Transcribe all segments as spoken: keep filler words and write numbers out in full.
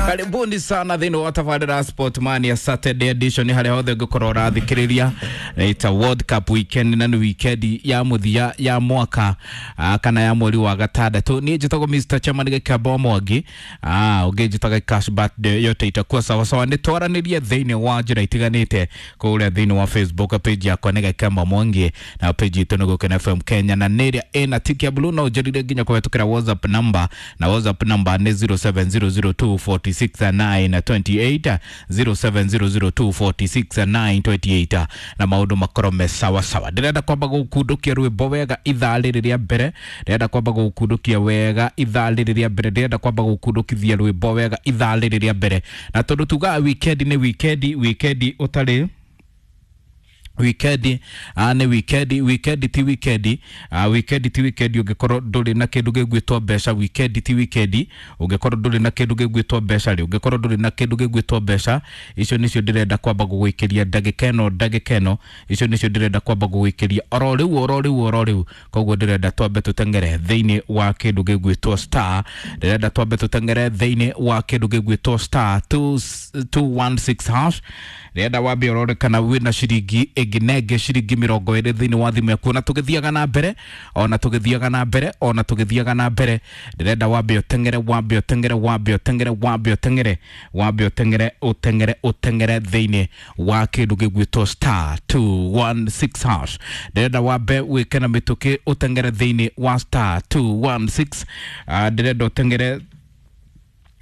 Karibuni sana thĩinĩ wa tabarĩra Sport Mania Saturday edition harĩa hothe ũngĩkorwo ũrathikĩrĩria. It's a World Cup weekend na nĩ weekend ya mũthia ya mwaka ah, kana ya mweri wa gatandatũ. Niĩ njĩtagwo Mister Chairman Gĩkamba Mwangi, ah, ũngĩnjĩtaga Cash Birthday yote itakuwa sawa sawa. Nĩ twaranĩrie thĩinĩ wa njĩra itiganĩte kũrĩa thĩinĩ wa Facebook page yakwa nĩ Gĩkamba Mwangi na page itũ nĩ Gũkena F M Kenya, na nĩ ĩrĩa ĩna tick ya blue no ũnjĩrire nginya kũhetũkĩra WhatsApp number, na WhatsApp number nĩ zero seven zero zero two forty six nine twenty eight, zero seven zero zero two forty six nine twenty eight, na maũndũ makorwo me sawa sawa. Ndĩrenda kwamba gũkundũkia rwĩmbo wega ithaa rĩrĩ rĩa mbere, ndĩrenda kwamba gũkundũkia wega ithaa rĩrĩ rĩa mbere, ndĩrenda kwamba gũkundũkithia rwĩmbo wega ithaa rĩrĩ rĩa mbere, na tondũ tugaga weekend nĩ weekend, weekend ũtarĩ weekend, ah, nĩ weekend, weekend ti weekend, ah, weekend ti weekend ũngĩkorwo ndũrĩ na kĩndũ gĩgwĩtwo mbeca, weekend ti weekend ũngĩkorwo ndũrĩ na kĩndũ gĩgwĩtwo mbeca rĩ, ũngĩkorwo ndũrĩ na kĩndũ gĩgwĩtwo mbeca, icio nĩcio ndĩrenda kwamba gũgũikĩria ndagĩka ĩno, ndagĩka ĩno, icio nĩcio ndĩrenda kwamba gũgũikĩria oro rĩu, oro rĩu, oro rĩu. Koguo ndĩrenda twambe tũteng'ere thĩinĩ wa kĩndũ gĩgwĩtwo star, ndĩrenda twambe tũteng'ere thĩinĩ wa kĩndũ gĩgwĩtwo star two, two one six hash. Ndĩrenda wambe ũrore kana wĩna ciringi ĩngĩ nenge ciringi mĩrongo ĩrĩ thĩinĩ wa thimũ yaku, na tũgĩthiaga na mbere, ona tũgĩthiaga na mbere, ona tũgĩthiaga na mbere, ndĩrenda wambe ũteng'ere, wambe ũteng'ere, wambe ũteng'ere, wambe ũteng'ere, wambe ũteng'ere, ũteng'ere, ũteng'ere thĩinĩ wa kĩndũ gĩgwĩtwo star two one six hash. Ndĩrenda wambe wĩke na mĩtũkĩ ũteng'ere thĩinĩ wa star two one six. Ah, ndĩrenda ũteng'ere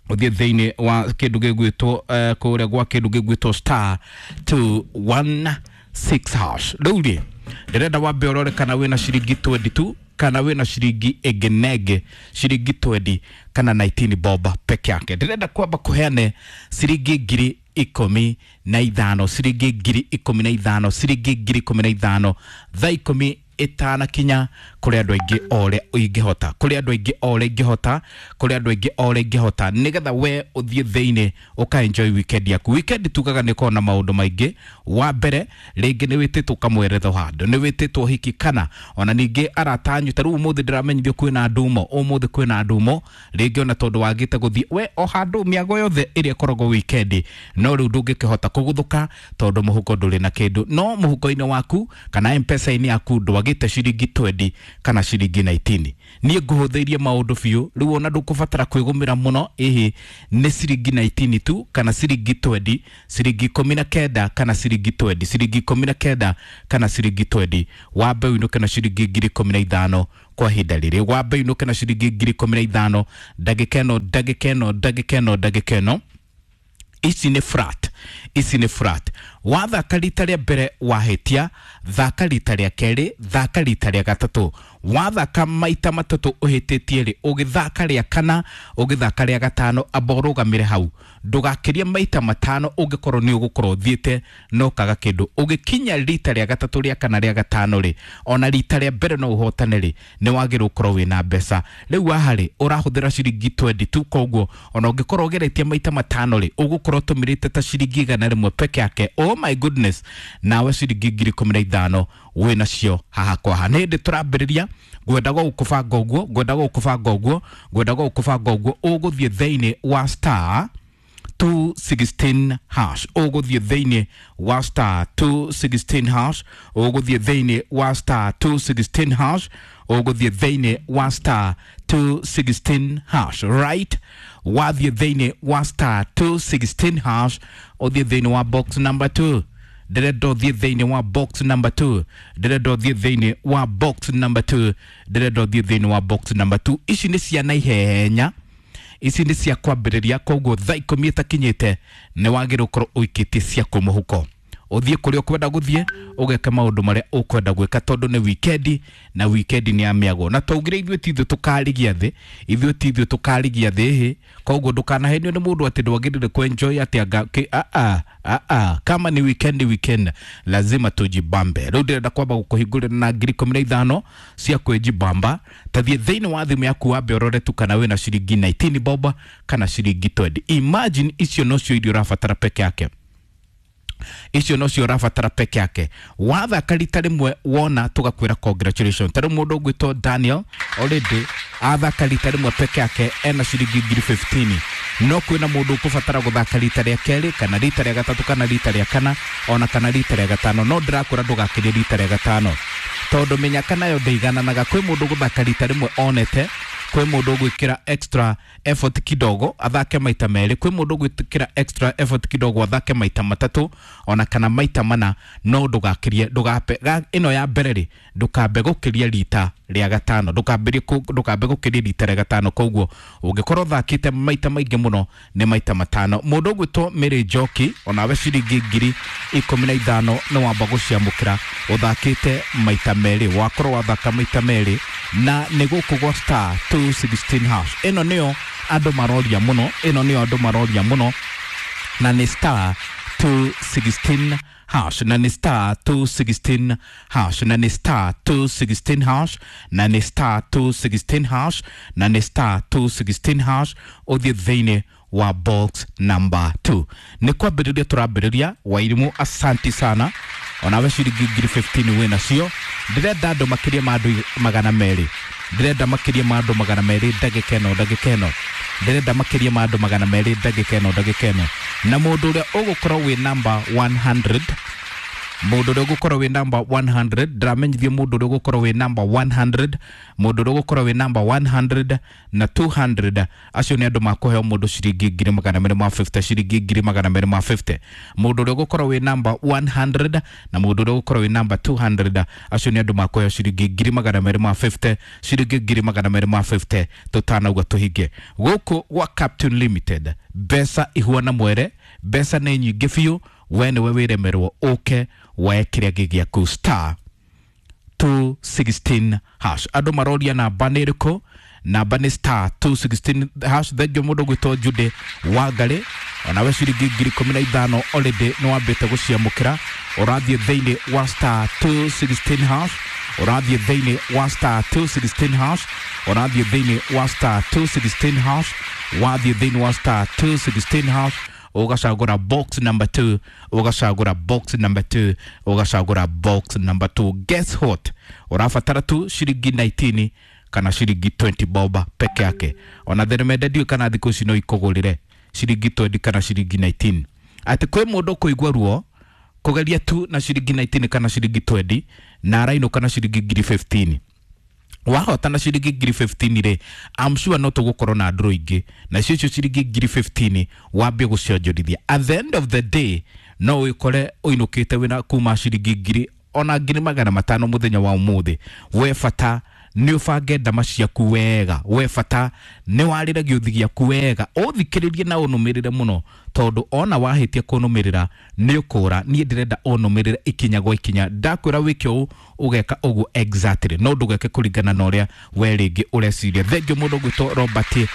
ũthiĩ thĩinĩ wa kĩndũ gĩgwĩtwo, eh, kũrĩa gwa kĩndũ gĩgwĩtwo star two one six hash. Rĩu rĩ, ndĩrenda wambe ũrore kana wĩna ciringi twenty two, kana wĩna ciringi ĩngĩ nenge ciringi twenty kana nineteen bob peke yake. Ndĩrenda kwamba kũheane ciringi ngiri ikũmi na ithano, ciringi ngiri ikũmi na ithano, ciringi ngiri ikũmi na ithano thaa ikũmi ĩtanakinya kũrĩ andũ aingĩ o ũrĩa ingĩhota, kũrĩ andũ aingĩ o ũrĩa ingĩhota, kũrĩ andũ aingĩ o ũrĩa ingĩhota, nĩgetha we ũthiĩ thĩinĩ ũka enjoy weekend yaku. Weekend tugaga nĩ ĩkoragwo na maũndũ maingĩ. Wa mbere, rĩngĩ nĩ wĩtĩtwo kamweretho handũ, nĩ wĩtĩtwo hiki, kana ona ningĩ arata anyu. Ta rĩu ũmũthĩ ndĩramenyithio kwĩna ndumo, ũmũthĩ kwĩna ndumo, rĩngĩ ona tondũ wagĩte gũthiĩ we o handũ mĩago yothe ĩrĩa ĩkoragwo weekend, no rĩu ndũngĩkĩhota kũguthũka tondũ mũhuko ndũrĩ na kĩndũ. No mũhuko-inĩ waku kana M-Pesa-inĩ yaku ndwagĩte ciringi twenty kana ciringi nineteen. Niĩ ngũhũthĩirie maũndũ biũ, rĩu ona ndũkũbatara kwĩgũmĩra mũno, ĩhĩ nĩ ciringi nineteen tu kana ciringi twenty, ciringi ikũmi na kenda kana ciringi twenty, ciringi ikũmi na kenda kana ciringi twenty. Wambe ũinũke na ciringi ngiri ikũmi na ithano kwa ihinda rĩrĩ, wambe ũinũke na ciringi ngiri ikũmi na ithano ndagĩka ĩno, ndagĩka ĩno, ndagĩka ĩno, ndagĩka ĩno. Ici nĩ flat, ici nĩ flat. Wathaka rita rĩa mbere wahĩtia, thaka rita rĩa kerĩ, thaka rita rĩa gatatũ. Wathaka maita matatũ ũhĩtĩtie rĩ, ũgĩthaka rĩa kana, ũgĩthaka rĩa gatano, amba ũrũgamĩre hau. Ndũgakĩrie maita matano ũngĩkorwo nĩ ũgũkorwo ũthiĩte na ũkaga kĩndũ. Ũgĩkinya rita rĩa gatatũ, rĩa kana, rĩa gatano rĩ, ona rita rĩa mbere no ũhotane rĩ, nĩ wagĩrĩirwo ũkorwo wĩna mbeca. Rĩu haha rĩ, ũrahũthĩra ciringi twenty tu, koguo ona ũngĩkorwo ũgeretie maita matano rĩ, ũgũkorwo ũtũmĩrĩte ta ciringi igana rĩmwe peke yake. Oh my goodness, nawe ciringi ngiri ikũmi na ithano wĩnacio haha kwa haha. Nĩ hĩndĩ tũrambĩrĩria, ngwenda gũkũbanga ũguo, ngwenda gũkũbanga ũguo, ngwenda gũkũbanga ũguo. Ũgũthiĩ thĩinĩ wa star two sixteen hash, ũgũthiĩ thĩinĩ wa star two sixteen hash, ũgũthiĩ thĩinĩ wa star two sixteen hash, ũgũthiĩ thĩinĩ wa star two sixteen hash. Right, wathiĩ thĩinĩ wa star two sixteen hash, ũthiĩ thĩinĩ wa box number two. Ndĩrenda ũthiĩ thĩinĩ wa box number two, ndĩrenda ũthiĩ thĩinĩ wa box number two, ndĩrenda ũthiĩ thĩinĩ wa box number two. Ici nĩ cia naihenya, ici nĩ cia kwambĩrĩria, koguo thaa ikũmi ĩtakinyĩte nĩ wagĩrĩirwo ũkorwo ũikĩtie ciaku mũhuko, ũthiĩ kũrĩa ũkwenda gũthiĩ, ũgeke maũndũ marĩa ũkwenda gwĩka, tondũ nĩ weekend na weekend nĩ ya mĩago. Na twaugire ithuĩ ti ithuĩ tũkarigia thĩ, ithuĩ ti ithuĩ tũkarigia thĩ, ĩhĩ. Koguo ndũkanahenio nĩ mũndũ atĩ ndwagĩrĩire kũ-enjoy atĩ anga kĩ, a a, a a, kama ni weekend, weekend lazima tujibambe. Rĩu ndĩrenda kwamba gũkũhingũrĩra na ngiri ikũmi na ithano cia kwĩjibamba. Tathiĩ thĩinĩ wa thimũ yaku wambe ũrore tu kana wĩna ciringi nineteen bob kana ciringi twenty. Imagine icio nocio iria ũrabatara peke yake. Icio nocio ũrabatara peke yake. Wathaka rita rĩmwe wona tũgakwĩra congratulations. Ta rĩu mũndũ ũgwĩtwo Daniel already athaka rita rĩmwe peke yake ena ciringi ngiri fifteen. No kwĩna mũndũ ũkũbatara gũthaka rita rĩa kerĩ kana rita rĩa gatatũ kana rita rĩa kana ona kana rita rĩa gatano. No ndĩrakwĩra ndũgakĩrie rita rĩa gatano, tondũ mĩnyaka nayo ndĩigananaga. Kwĩ mũndũ gũthaka rita rĩmwe onete, kwĩ mũndũ ũgwĩkĩra extra effort kidogo athake maita merĩ, kwĩ mũndũ ũgwĩkĩra extra effort kidogo athake maita matatũ ona kana maita mana. No ndũgakĩrie, ndũgape ĩno ya mbere rĩ, ndũkambe gũkĩria rita rĩa gatano, ndũkambĩrie ndũkambe gũkĩria rita rĩa gatano. Koguo ũngĩkorwo ũthakĩte maita maingĩ mũno nĩ maita matano. Mũndũ ũgwĩtwo Mary Njoki onawe ciringi ngiri ikũmi na ithano nĩ wamba gũciamũkĩra ũthakĩte maita merĩ, wakorwo wathaka maita merĩ na nĩ gũkũ gwa star two sixteen hash. Ĩno nĩyo andũ maroria mũno, ĩno nĩyo andũ maroria mũno, na nĩ star two sixteen hash, na nĩ star two sixteen hash, na nĩ star two sixteen hash, na nĩ star two sixteen hash, na nĩ star two sixteen hash. Ũthiĩ thĩinĩ wa box number two. Nĩ kwambĩrĩria tũrambĩrĩria. Wairimu, asanti sana, onawe ciringi ngiri fifteen wĩ nacio. Ndĩrenda andũ makĩria ma andũ magana merĩ, ndĩrenda makĩria ma andũ magana merĩ ndagĩka ĩno, ndagĩka ĩno ndĩrenda makĩria ma andũ magana merĩ ndagĩka ĩno, ndagĩka ĩno. Na mũndũ ũrĩa ũgũkorwo wĩ number one hundred, mũndũ ũrĩa ũgũkorwo wĩ number one hundred, ndĩramenyithio mũndũ ũrĩa ũgũkorwo wĩ number one hundred, mũndũ ũrĩa ũgũkorwo wĩ number one hundred na two hundred, acio nĩ andũ makũheo mũndũ ciringi ngiri magana merĩ ma fifty, ciringi ngiri magana merĩ ma fifty. Mũndũ ũrĩa ũgũkorwo wĩ number one hundred na mũndũ ũrĩa ũgũkorwo wĩ number two hundred, acio nĩ andũ makũheo ciringi ngiri magana merĩ ma fifty, ciringi ngiri magana merĩ ma fifty. Tũtanauga tũhinge gũkũ gwa Captain Limited. Mbeca ihuana mwere, mbeca nĩ nyingĩ biũ. We nĩwe wĩremerwo ũke woe kĩrĩa gĩ gĩaku star two sixteen hash. Andũ maroria namba nĩ ĩrĩkũ? Namba nĩ star two sixteen hash. Thengio mũndũ ũgwĩtwo Jude Wangarĩ, onawe ciringi ngiri ikũmi na ithano already nĩ wambĩte gũciamũkĩra. Ũrathiĩ thĩinĩ wa star two sixteen hash, ũrathiĩ thĩinĩ wa star two sixteen hash, ũrathiĩ thĩinĩ wa star two sixteen hash, wathiĩ thĩinĩ wa star two sixteen hash, ũgacagũra box number two, ũgacagũra box number two, ũgacagũra box number two. Guess what? Ũrabatara tu ciringi nineteen kana ciringi twenty boba peke yake. Ona theremende ndiũĩ kana thikũ ici no ikũgũrĩre ciringi twenty kana ciringi nineteen. Atĩ kwĩ mũndũ ũkũigua ruo kũgeria tu na ciringi nineteen kana ciringi twenty na arainũka na ciringi ngiri fifteen. Wahota na ciringi ngiri fifteen rĩ, I'm sure no tũgũkorwo na ndũrũ ingĩ nacio icio ciringi ngiri fifteen wambie gũcionjorithia. At the end of the day no wĩkore ũinũkĩte wĩna kuma ciringi ngiri ona ngiri magana matano mũthenya wa ũmũthĩ. We bata nĩ ũbange ndama ciaku wega, we bata nĩ warĩre gĩũthi gĩaku wega, ũthikĩrĩrie na ũnũmĩrĩre mũno, tondũ ona wahĩtia kũnũmĩrĩra nĩ ũkũra. Niĩ ndĩrenda ũnũmĩrĩre ikinya gwa ikinya. Ndakwĩra wĩke ũũ ũgeka ũguo exactly, no ndũgeke kũringana na ũrĩa we rĩngĩ ũreciria. Thengio mũndũ ũgwĩtwo Robert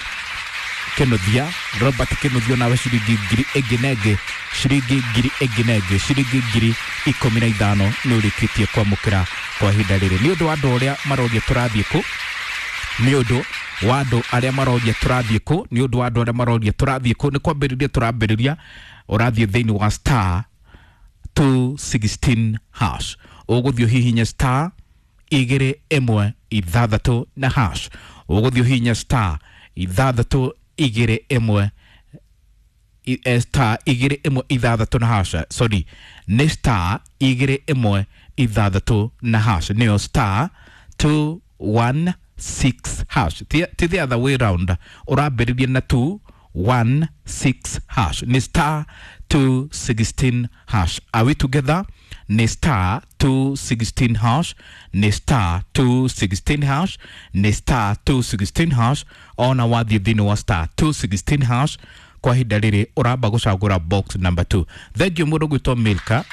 Kĩnuthia, Robert Kĩnuthia onawe ciringi ngiri ĩngĩ na ĩngĩ, ciringi ngiri ĩngĩ na ĩngĩ, ciringi ngiri ikũmi na ithano nĩ ũrĩkĩtie kwamũkĩra kwa ihinda rĩrĩ. Nĩ ũndũ wa andũ arĩa maroria tũrathiĩ kũ, nĩ ũndũ wa andũ arĩa maroria tũrathiĩ kũ, nĩ ũndũ wa andũ arĩa maroria tũrathiĩ kũ, nĩ kwambĩrĩria tũrambĩrĩria. Ũrathiĩ thĩinĩ wa star two sixteen hash, ũgũthiĩ ũhihinye star igĩrĩ ĩmwe ithathatũ na hash, ũgũthiĩ ũhihinye star ithathatũ igĩrĩ ĩmwe star igĩrĩ ĩmwe ithathatũ na hash, sorry, nĩ star igĩrĩ ĩmwe ithathatũ na hash, nĩyo star two one six hash. Ti the other way round, ũrambĩrĩria na two one six hash, nĩ star two sixteen hash. Are we together? Nĩ star two sixteen hash, nĩ star two sixteen hash, nĩ star two sixteen hash. Ona wathiĩ thĩinĩ wa star two sixteen hash kwa ihinda rĩrĩ ũramba gũcagũra box number two. Thengio mũndũ ũgwĩtwo Milka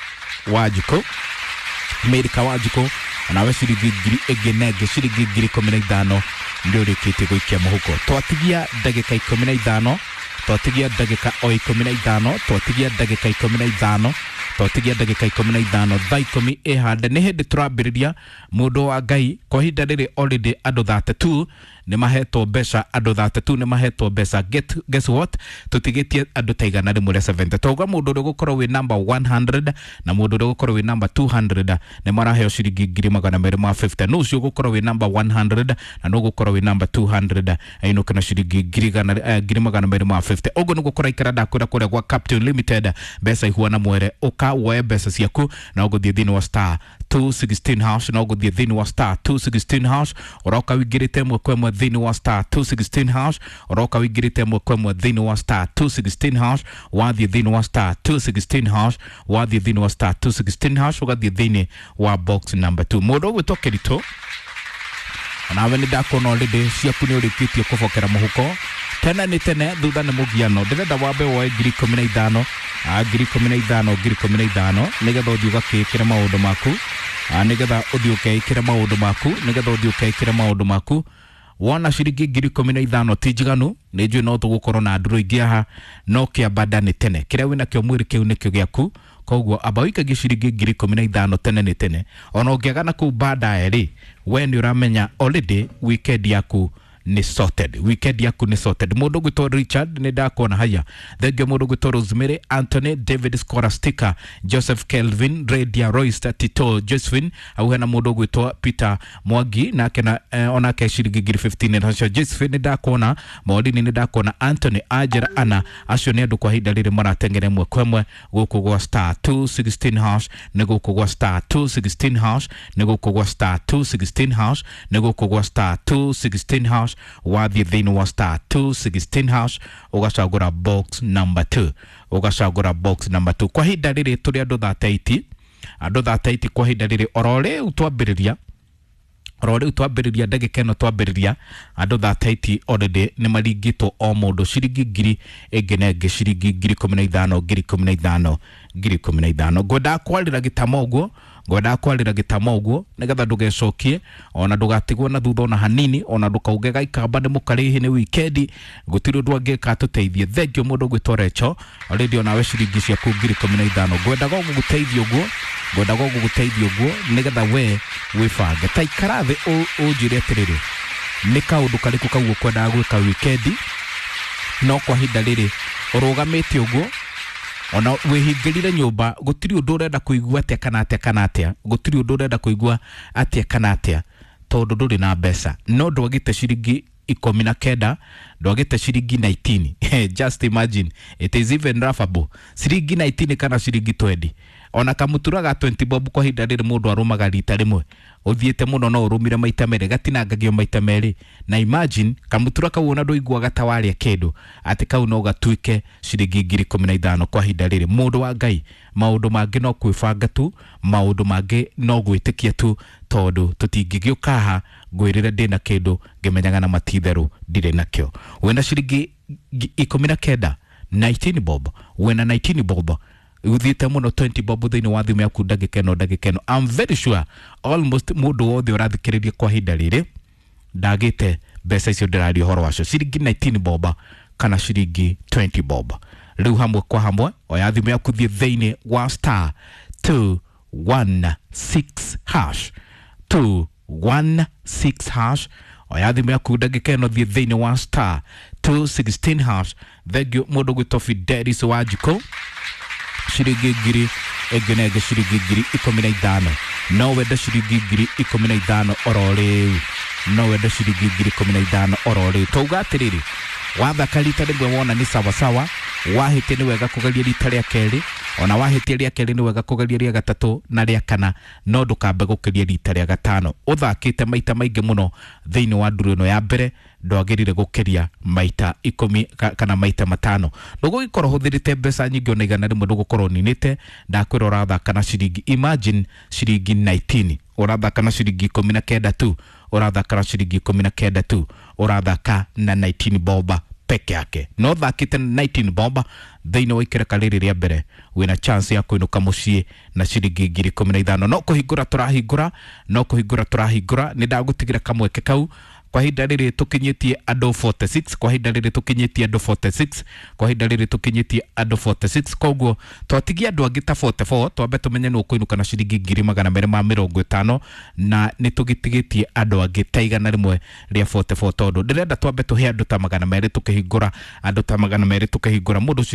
Wanjikũ, Milka Wanjikũ onawe ciringi ngiri ĩngĩ na ĩngĩ, ciringi ngiri ikũmi na ithano nĩ ũrĩkĩtie gũikia mũhuko. Twatigia ndagĩka ikũmi na ithano, twatigia ndagĩka o ikũmi na ithano, twatigia ndagĩka ikũmi na ithano, Twatigia ndagĩka ikũmi na ithano thaa ikũmi ĩhande nĩ hĩndĩ tũrambĩrĩria. Mũndũ wa Ngai, kwa ihinda rĩrĩ already andũ thirty-two nĩ mahetwo mbeca, andũ thirty-two nĩ mahetwo mbeca. Get, guess what, tũtigĩtie andũ ta igana rĩmwe rĩa seventy. Twauga mũndũ ũrĩa ũgũkorwo wĩ number one hundred na mũndũ ũrĩa ũgũkorwo wĩ number two hundred nĩ maraheo ciringi ngiri magana merĩ ma fifty. Nũ ũcio ũgũkorwo wĩ number one hundred na nũ ũgũkorwo wĩ number two hundred ainũke na ciringi ngiri igana, eh, ngiri magana merĩ ma fifty. Ũguo nĩguo kũraikara. Ndakwĩra kũrĩa gwa Captain Limited mbeca ihuana mwere. Ũka woe mbeca ciaku na ũgũthiĩ thĩinĩ wa star two sixteen hash, na ũgũthiĩ thĩinĩ wa star two sixteen hash. Ũroka wĩingĩrĩte ĩmwe kwa ĩmwe thĩinĩ wa star two sixteen hash, ũroka wĩingĩrĩte ĩmwe kwa ĩmwe thĩinĩ wa star two sixteen hash. Wathiĩ thĩinĩ wa star two sixteen hash, wathiĩ thĩinĩ wa star two sixteen hash, ũgathiĩ thĩinĩ wa box number two. Mũndũ ũgwĩtwo Kĩritũ, onawe nĩ ndakuona already ciaku nĩ ũrĩkĩtie kũbokera mũhuko. Tene nĩ tene, thutha nĩ mũgiano. Ndĩrenda wambe woe ngiri ikũmi na ithano, ah, ngiri ikũmi na ithano, ngiri ikũmi na ithano, nĩgetha ũthiĩ ũgakĩĩkĩre maũndũ maku, ah, nĩgetha ũthiĩ ũkeĩkĩre maũndũ maku, nĩgetha ũthiĩ ũkeĩkĩre maũndũ maku. Wona ciringi ngiri ikũmi na ithano ti njiganu, nĩ njũĩ no tũgũkorwo na ndũrũ ingĩ haha, no kĩamba nĩ tene. Kĩrĩa wĩnakĩo mwĩrĩ kĩu nĩkĩo gĩaku. Koguo amba ũikagie ciringi ngiri ikũmi na ithano tene nĩ tene. Ona ũngĩaga na kũu baadaye rĩ, we nĩ ũramenya already weekend yaku nĩ sorted, weekend yaku nĩ sorted. Mũndũ ũgwĩtwo Richard, nĩ ndakuona haya. Thengio mũndũ ũgwĩtwo Rosemary, Anthony, David Scholastica, Joseph Kelvin, Radia Royce, Tito Josephine, hau hena mũndũ ũgwĩtwo Peter Mwangi nake na eh, onake ciringi ngiri fifteen. Nacio Josephine nĩ ndakuona, Maureen nĩ ndakuona, Anthony, Angela, Anna, acio nĩ andũ kwa ihinda rĩrĩ marateng'era ĩmwe kwa ĩmwe gũkũ gwa star two sixteen hash, nĩ gũkũ gwa star two sixteen hash, nĩ gũkũ gwa star two sixteen hash, nĩ gũkũ gwa star two sixteen hash. Wathiĩ thĩinĩ wa star two sixteen hash ũgacagũra box number two, ũgacagũra box number two. Kwa ihinda rĩrĩ tũrĩ andũ thirty-eight, andũ thirty-eight kwa ihinda rĩrĩ oro rĩu twambĩrĩria, oro rĩu twambĩrĩria ndagĩka ĩno twambĩrĩria, andũ thirty-eight already nĩ maringĩtwo o mũndũ ciringi ngiri ĩngĩ na ĩngĩ, ciringi ngiri ikũmi na ithano, ngiri ikũmi na ithano, ngiri ikũmi na ithano. Ngwendaga kwarĩra gĩtama ũguo, ngwendaga kwarĩra gĩtama ũguo nĩgetha ndũgecokie ona ndũgatigwo na thutha ona hanini, ona ndũkauge gaikamba nĩ mũkarĩhi nĩ wikendi, gũtirĩ ũndũ angĩka atũteithie. Thengio mũndũ ũgwĩtwo Recho, already onawe ciringi ciaku ngiri ikũmi na ithano. Ngwendaga gũgũteithia ũguo, ngwendaga gũgũteithia ũguo nĩgetha we wĩbange. Ta ikara thĩ ũnjĩre atĩrĩrĩ, nĩ kaũndũ karĩkũ kau ũkwendaga gwĩka wikendi, no kwa ihinda rĩrĩ ũrũgamĩte ũguo ona wĩhingĩrire nyũmba, gũtirĩ ũndũ ũrenda kũigua atĩa kana atĩa kana atĩa, gũtirĩ ũndũ ũrenda kũigua atĩa kana atĩa, tondũ ndũrĩ na mbeca. No ndwagĩte ciringi ikũmi na kenda, ndwagĩte ciringi nineteen. Just imagine, it is even laughable. Ciringi nineteen kana ciringi twenty. Ona kamutura ga twenty bob kwa ihinda rĩrĩ mũndũ arũmaga rita rĩmwe, ũthiĩte mũno no ũrũmire maita merĩ, gatinangagio maita merĩ. Na imagine kamutura kau ona ndũiguaga ta warĩa kĩndũ, atĩ kau no gatuĩke ciringi ngiri ikũmi na ithano kwa ihinda rĩrĩ. Mũndũ wa Ngai, maũndũ mangĩ no kwĩbanga tu, maũndũ mangĩ no gwĩtĩkia tu, tondũ tũtingĩgĩũka haha ngwĩrĩre ndĩna kĩndũ ngĩmenyaga na matitherũ ndirĩ nakĩo. Wĩna ciringi ikũmi na kenda, nineteen bob, wĩna nineteen bob, uthiĩte mũno twenty bob thĩinĩ wa thimũ yaku ndagĩka ĩno, ndagĩka ĩno. I'm very sure almost mũndũ wothe ũrathikĩrĩria kwa ihinda rĩrĩ ndagĩte mbeca icio ndĩraria ũhoro wacio, ciringi nineteen bob kana ciringi twenty bob. Rĩu hamwe kwa hamwe oya thimũ yaku thiĩ thĩinĩ wa star two one six hash, two one six hash. Oya thimũ yaku ndagĩka ĩno thiĩ thĩinĩ wa star two sixteen hash. Thank you mũndũ gwĩtwo Fidelis Wanjikũ, ciringi ngiri ĩngĩ na ĩngĩ, ciringi ngiri ikũmi na ithano. No wende ciringi ngiri ikũmi na ithano oro rĩu, no wende ciringi ngiri ikũmi na ithano oro rĩu. Twauga atĩrĩrĩ, wathaka rita rĩmwe wona nĩ sawasawa, wahĩtia nĩ wega kũgeria rita rĩa kerĩ, ona wahĩtia rĩa kerĩ nĩ wega kũgeria rĩa gatatũ na rĩa kana, no ndũkambe gũkĩria rita rĩa gatano. Ũthakĩte maita maingĩ mũno thĩinĩ wa nduru ĩno ya mbere, ndwagĩrĩire gũkĩria maita ikũmi kana maita matano. Ndũgũgĩkorwo ũhũthĩrĩte mbeca nyingĩ ona igana rĩmwe ndũgũkorwo ũninĩte. Ndakwĩra ũrathaka na ciringi, imagine ciringi nineteen, ũrathaka na ciringi ikũmi na kenda tu, ũrathaka na ciringi ikũmi na kenda tu, ũrathaka na nineteen bob peke yake. No thakĩte nineteen bob thĩinĩ wa ikereka rĩrĩ rĩa mbere, wĩna chance ya kũinũka mũciĩ na ciringi ngiri ikũmi na ithano. No kũhingũra tũrahingũra, no kũhingũra tũrahingũra. Nĩ ndagũtigĩra kamweke kau Kwa ihinda rĩrĩ tũkinyĩtie andũ mĩrongo ĩnana na ithathatũ. Kwa ihinda rĩrĩ tũkinyĩtie andũ mĩrongo ĩnana na ithathatũ. Kwa ihinda rĩrĩ tũkinyĩtie andũ mĩrongo ĩnana na ithathatũ. Koguo twatigia andũ angĩ ta mĩrongo ĩnana na ĩna, twambe tũmenye nũ ũkũinũka na ciringi ngiri magana merĩ ma mĩrongo ĩtano, na nĩ tũgĩtigĩtie andũ angĩ ta igana rĩmwe rĩa mĩrongo ĩnana na ĩna, tondũ ndĩrenda twambe tũhe andũ ta magana merĩ, tũkĩhingũra andũ ta magana merĩ, tũkĩhingũra mũndũ ciringi